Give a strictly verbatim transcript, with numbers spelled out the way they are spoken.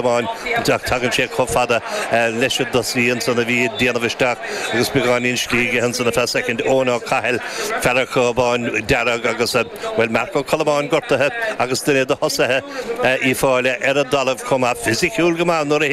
Amháin tagann sé chomh fada leis an dtosaí ansan a bhí ag déanamh isteach agus beagáinín slí aige ansan ar feadh soicind Eoin Ó Cathail fear an chábáin dearg agus bhuel Marc Ó Colmáin gortaithe agus duine de thosaithe Uíbh Fhailí ar an dtalamh chomh maith fisiciúil go maith nuair a